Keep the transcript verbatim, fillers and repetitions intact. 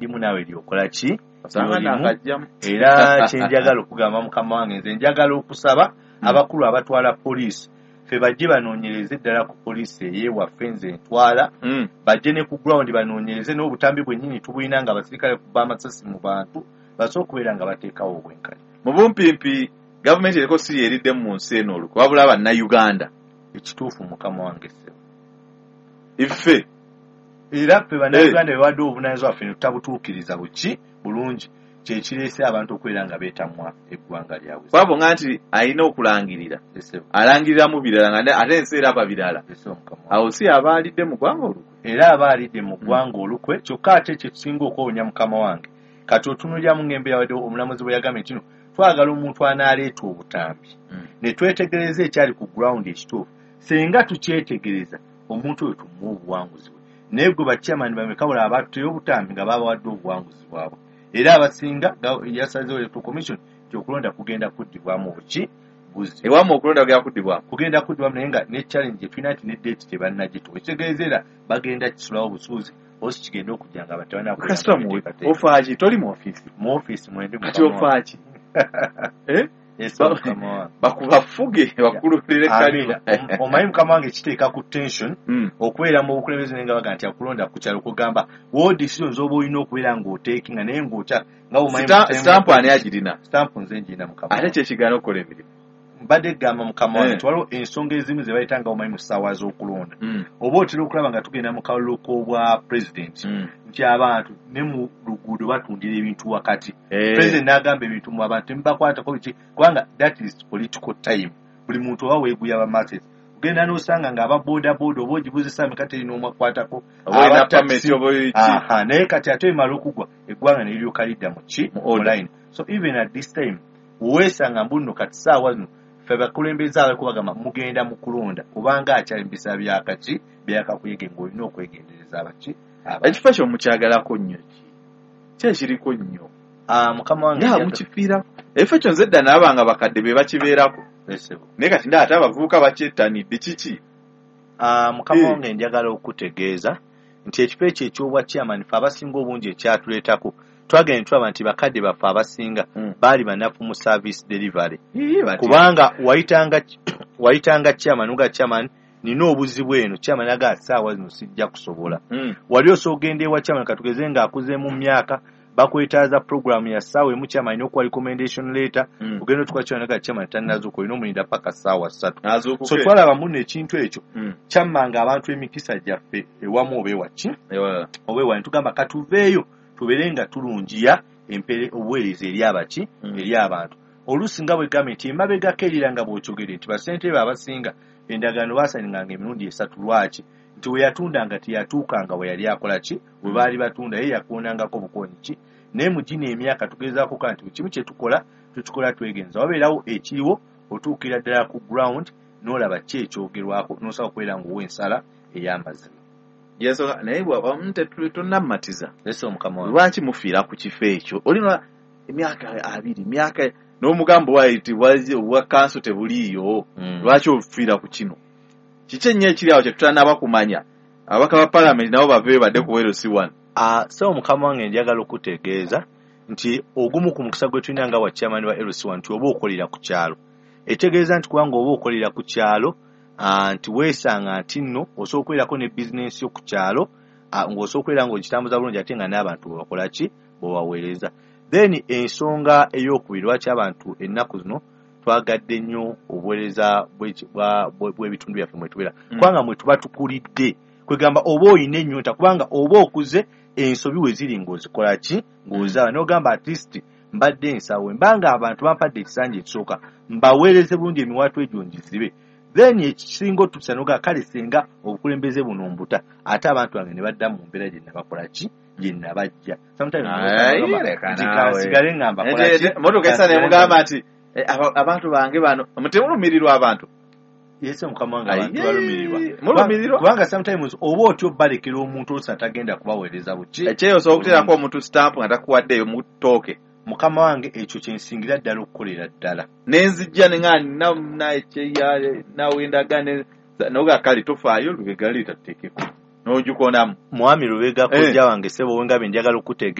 lyendimu naawe lyokola ki? Osanga Lyolimu. Nakajjamu. Era kyenjagala okugamba, mukama wange, nze njagala okusaba abakulu abatwala poliisi ffe bajje banoonyereze ddala ku poliisi eyewaffe nze ntwala, Mm. bajje ne ku ground banoonyereze n'obutambi bwennyini tubulina nga abasirikale kuba amasasi mu bantu, basobola okubeera nga bateekawo obwenkanya. Mu bumpimpi, gavumenti eriko si yeriddemu mu nsi eno olukwe, wabula Bannayuganda. Ekituufu, mukama wange ssebo. Iffe. Era ffe Bannayuganda bewadde obuvunaanyizibwa bwaffe ne tutabutuukiriza buki bulungi, kyekireese abantu okubeera nga beetamwa eggwanga lyabwe. Kwabo nga nti alina okulangirira, Ssebo. alangiriramu birala nga ne- ate ensi eraba birala. Ssebo, mukama wange. Awo si aba alidde mu ggwanga olukwe? Era aba alidde mu ggwanga olukwe. Kyokka ate kyetusinga okwewunya, mukama wange, kati otunuuliramu ng'embeera wadde omulamuzi bwe yagambye nti no twagala omuntu anaaleeta obutambi ne twetegereza ekyali ku ground ekituufu, singa tukyetegereza omuntu oyo tumuwa obuwanguzi bwe. Naye gwe bachairman bameka bula abatuteyo obutambi nga babawadde obuwanguzi bwabwe? Era abasinga ga- yasazeewo Electoral Commission nti okulonda kugenda kuddibwamu buki buzzi. Ewamu okulonda kugenda kuddibwamu? Kugenda kuddibwamu, naye nga ne challenge gyetulina nti ne date tebannagituwa, ekitegeeza era bagenda kisulawo busuuzi osi kigenda okujja nga Kasita muwe ofaaki? Toli mu ofiisi? Mu ofiisi mwendi. Kati ofaaki? Eh? Mukama wange. Bakubafuge bakululire Amiina. kalima. Om- omanyi mukama wange, kiteeka ku tension Mm. okubeera mu bukulembeze naye nga baga nti akulonda ku kyalo, kugamba wo decisions oba olina okubeera ng'oteekinga naye ng'otya nga bw'omanyi Sita- mu time- Sitampu ani agirina? Stamp nze ngirina, mukama Ate wange. kyekigaana okukola emirimu? Mbadde gamba, mukama wange, Eh. nti waliwo ensonga ezimu ze bayita nga omanyi mu ssaawa z'okulonda, Mm. oba otera okulaba nga tugenda mu kalulu k'obwa pulezidenti Mm. nti abantu ne mu luguudo batundira ebintu wakati. Eh. President n'agamba ebintu mu abantu temubakwatako biki, kubanga that is political time. Buli muntu oba weeguya ba masses, ogenda n'osanga ng'aba boda boda oba ogibuzisa meka terina omwakwatako. Oba olina aba taxi. permit oba ki? Aha, naye kati ate emala okugwa eggwanga ne liryoka lidda mu ki? Mu Mu order. line. So even at this time weesanga mbu nno kati saawa zino ffe abakulembeze abaliko bagamba mugenda mu kulonda, kubanga akyali mu biseera byakaki byakakuyege ng'olina okwegendereza abaki abantu. Ekifo ekyo mukyagalako nnyo ki? Ki ekiriko nnyo? Ah, mukama wange, Nga njagala- mukifiirako ekifo ekyo. Nze edda naaba nga bakadde be bakibeerako, Ssebo. naye kati nda ate abavubuka bakyettanidde. Kiki? Ah, mukama Eh. wange, njagala okutegeeza nti ekifo ekyo ekyobwa chairman ffe abasinga obungi ekyatuleetako twagenda tulaba nti bakadde baffe abasinga Mm. baali banafu mu service delivery, Ii, bati- kubanga wayitanga wayitanga chairman nga chairman nina obuzibu eno, chairman aga saawa zino sijja kusobola. Mm. Wali osobola ogenda ewa chairman, katugeze ng'akuzeemu mu myaka, bakwetaaza program ya ssaawa emu, chairman alina okuwa recommendation letter. Mm. Ogenda otuka chairman aga chairman tannazuuka, olina omulinda paka ssaawa ssatu. Azuukuke. So twalaba muno ekintu ekyo Mm. kyammanga abantu emikisa gyaffe ewamu oba ewaki Ewalala. oba ewa, netugamba katuveeyo tubeere nga tulungiya empere obuweereza eri abaki, Mm. eri abantu. Oluusi nga bwegambye nti emabegako erira nga bw'okyogere nti basentebe abasinga endagaano baasayininganga emirundi esatu. Lwaki? Nti we yatundanga teyatuukanga we yali akola ki, we baali batunda ye yakoonangako bukoonyi ki. Naye mu gino emyaka tugezaako ka nti buli kimu kye tukola tukikola twegenza, wabeerawo ekiriwo, otuukira ddala ku ground n'olaba ki ekyogerwako n'osobola okubeera ng'owa ensala ey'amazima. Yensonga naye bw'aba tetu- tonnamatiza. Ese omukama wange. Lwaki mufiira ku kifo ekyo? Olina emyaka abiri, emyaka n'omugambo waiti obwa kanso tebuliiyo. Mm. Lwaki ofiira ku kino? Kiki ennyo ekiri awo kyetutanaba kumanya? Ababaka ba palamenti nabo baveeyo badde ku L C one. Ah, so mukama wange, njagala okutegeeza nti ogumu ku mukisa gwe tulina nga wa chairman wa L C one nti oba okolera ku kyalo, etegeeza nti kubanga oba okolera ku kyalo, ah, nti weesanga nti nno osobola okubeerako ne bizinensi yo ku kyalo, ah, ng'osobola okubeera ng'ogitambuza bulungi ate nga n'abantu bwebakola ki, bwebaweereza. Then ensonga ey'okubiri lwaki abantu ennaku zino twagadde nnyo obuweereza bw'eki- bwa- bwe- bw'ebitundu byaffe mwe tubeera, Mm. kubanga mwe tuba tukulidde, kwegamba oba oyina ennyonta, kubanga oba okuze ensobi we ziri ng'ozikola ki, ng'ozaba n'ogamba at least mbadde nsawo mbanga abantu bampadde ekisanja ekisooka mbaweereze bulungi, emiwaatwa egyo ngizibe. Then ekisinga otutusa nogaa kale singa obukulembeze buno mbuta ate abantu bange ne badda mu mbeera gye nabakola ki, gye nabajja. Sometimes Ayi, nogamba leka nti naawe. kansigale nga mbakola ki. Motoka esa kansigale nga- nemugamba nti eh, aba- abantu bange bano temulumirirwa abantu. Yese mukama wange, abantu Aye, balumirirwa. mulumirirwa. Kubanga sometimes oba otyo balekera omuntu oluusi atagenda kubaweereza buki. Ekyeyo osobola okuteerako omuntu sitampu nga takuwaddeeyo mutooke. Mukama wange, ekyo kyensingira ddala okukolera ddala. Nenzijja nenga nawendaga noga kale tofaayo, Lubega leeta tuteekeko n'ogikonamu. Mwami Lubega, Eh. kojja wange, ssebo wengabe, njagala okutegeeza.